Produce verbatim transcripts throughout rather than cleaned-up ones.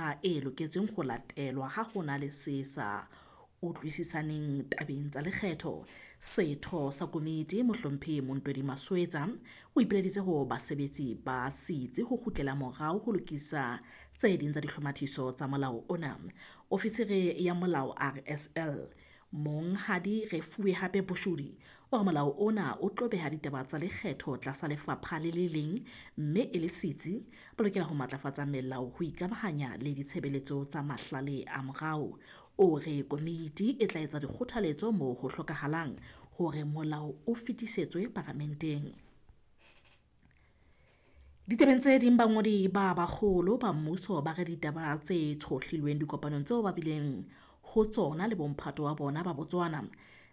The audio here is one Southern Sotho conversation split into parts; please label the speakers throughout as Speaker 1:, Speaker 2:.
Speaker 1: mekgwa e loketseng ho latelwa ha ho na le se sa utlwisisaneng tabeng tsa lekgetho. Setho sa komiti Mohlomphehi Montwedi Maswetsa o ipileditse ho basebetsi ba setsi ho kgutlela morao ho lokisa tse ding tsa dihlomathiso tsa molao ona. Ofisiri ya molao R S L Monghadi Refuwe Hape Boshodi o re molao ona o tlo beha ditaba tsa lekgetho tlasa lefapha le le leng mme e le setsi ba lokela ho matlafatsa melao ho ikamahanya le ditshebeletso tsa mahlale a morao. O re komiti e tla etsa dikgothaletso moo ho hlokahalang hore molao o fetisetswe paramenteng. Ditabeng tse ding, bangodi ba baholo ba mmuso ba re ditaba tse tshohlilweng dikopanong tseo ba bileng ho tsona le bomphato wa bona ba Botswana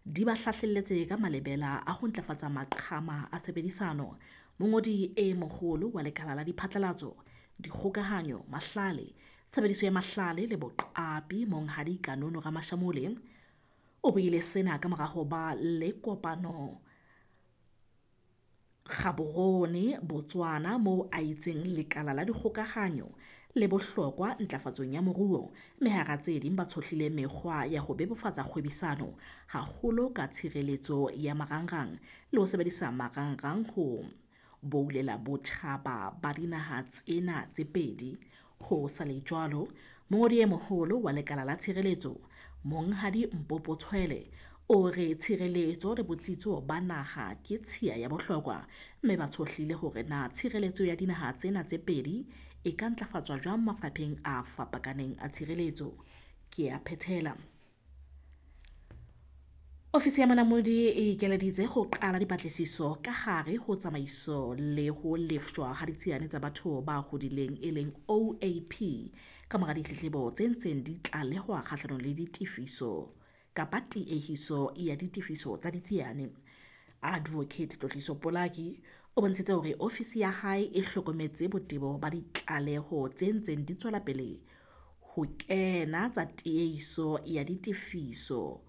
Speaker 1: di ba hlahlelletse ka malebela a ho ntlafatsa maqhama a tshebedisano. Mongodi e moholo wa lekala la diphatlalatso, dikgokahanyo, mahlale, tshebediso ya mahlale le boqapi Monghadi Kanono Ramashamole o buile sena ka mora ho ba le kopano Gaborone, Botswana, moo a itseng lekala la dikgokahanyo le bohlokwa ntlafatsong ya moruo, mme hara tse ding ba tshohlile mekgwa ya ho bebofatsa kgwebisano haholo ka tshireletso ya marangrang le ho sebedisa marangrang ho boulela botjhaba ba dinaha tsena tse pedi. Ho sa le jwalo, mongodi e moholo wa lekala la tshireletso Monghadi Mpopo Tshwele o re tshireletso le botsitso ba naha ke tshiya ya bohlokwa, mme ba tshohlile hore na tshireletso ya dinaha tsena tse pedi e ka ntlafatswa jwang mafapheng a fapakaneng a tshireletso. Ke a phethela. Ofisi ya Monamodi e ikeleditse ho qala dipatlisiso ka hare ho tsamaiso le ho lefshwa ha ditsiane tsa batho ba hodileng e leng O A P ka mora ditletlebo tse ntseng di tlalehwa kgahlanong le ditefiso kapa tiehiso ya ditefiso tsa ditsiane. Advocate Tlotliso Polaki o bontshitse hore ofisi ya hae e hlokometse botebo ba ditlaleho tse ntseng di tswela pele ho kena tsa tiehiso ya ditefiso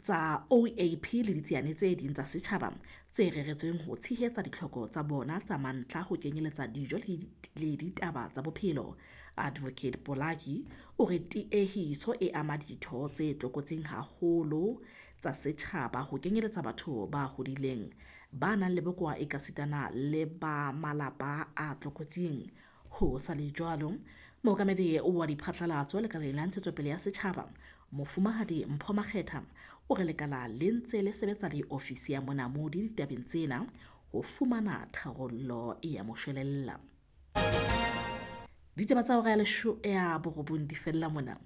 Speaker 1: tsa O A P le ditsiane tse ding tsa setjhaba tse reretsweng ho tshehetsa ditlhoko tsa bona tsa mantlha ho kenyeletsa dijo le ditaba tsa bophelo. Advocate Polaki o re tiehiso e ama ditho tse tlokotsing haholo tsa setjhaba ho kenyeletsa batho ba hodileng, ba nang le bokowa ekasitana le ba malapa a tlokotsing. Ho sa le jwalo, mookamedi wa diphatlalatso lekaleng la ntshetsopele ya setjhaba Mofumahadi Mpho Makgetha o re lekala le ntse le sebetsa le ofisi ya Monamodi ditabeng tsena ho fumana tharollo ya moshwelella. Ditaba tsa hora ya lesho ya borobong di fella mona.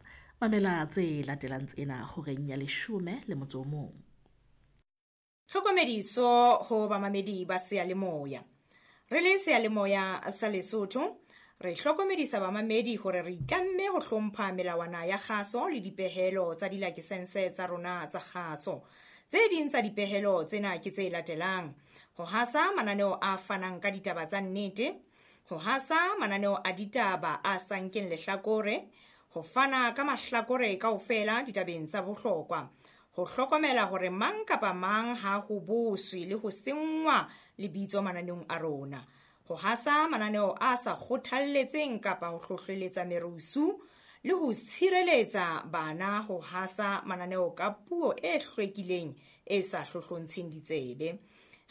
Speaker 1: Mamela tse latelang tsena horeng ya leshome le motso o mong.
Speaker 2: Tlhokomediso ho bamamedi ba seyalemoya. Re le seyalemoya sa Lesotho, re hlokomedisa bamamedi hore re itlamme ho hlompha melawana ya kgaso le dipehelo tsa dilakesense tsa rona tsa kgaso. Tse ding tsa dipehelo tsena ke tse latelang: ho hasa mananeo a fanang ka ditaba tsa nnete, ho hasa mananeo a ditaba a sa nkeng lehlakore, ho fana ka mahlakore kaofela ditabeng tsa bohlokwa, ho hlokomela hore mang kapa mang ha ho boswe le ho senngwa lebitso mananeong a rona, ho hasa mananeo a sa kgothalletseng kapa ho hlohleletsa merusu, le ho tshireletsa bana ho hasa mananeo ka puo e hlwekileng e sa hlohlontsheng ditsebe.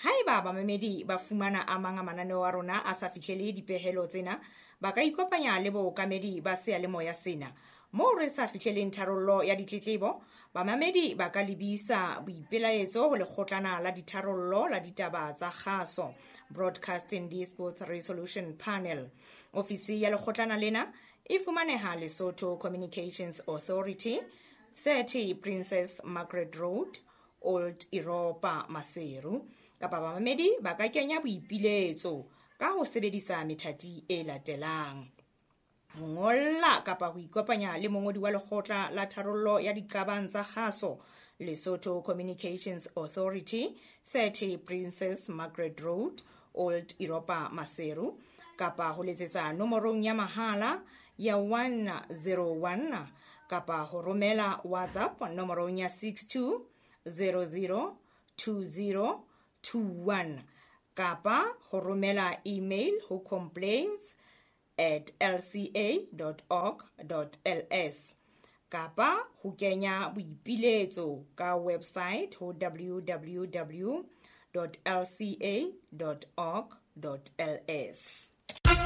Speaker 2: Haeba bamamedi ba fumana a mang a mananeo a rona a sa fihlele dipehelo tsena, ba ka ikopanya le bookamedi ba seyalemoya sena. Moo re sa fihleleng tharollo ya ditletlebo, bamamedi ba ka lebisa boipelaetso ho lekgotlana la ditharollo la ditaba tsa kgaso, Broadcasting Disputes Resolution Panel. Ofisi ya lekgotlana lena e fumaneha Lesotho Communications Authority, thirty Princess Margaret Road, Old Europa, Maseru. Kapa bamamedi ba ka kenya boipiletso ka ho sebedisa methati e latelang: ho ngolla kapa ho ikopanya le mongodi wa lekgotla la tharollo ya diqabang tsa kgaso, Lesotho Communications Authority, thirty Princess Margaret Road, Old Europa, Maseru, kapa ho letsetsa nomorong ya mahala ya one zero one kapa ho romela WhatsApp nomorong ya six two zero zero two zero two one kapa ho romela email ho complaints at l c a dot org dot l s kapa ho kenya boipiletso ka website ho w w w dot l c a dot org dot l s.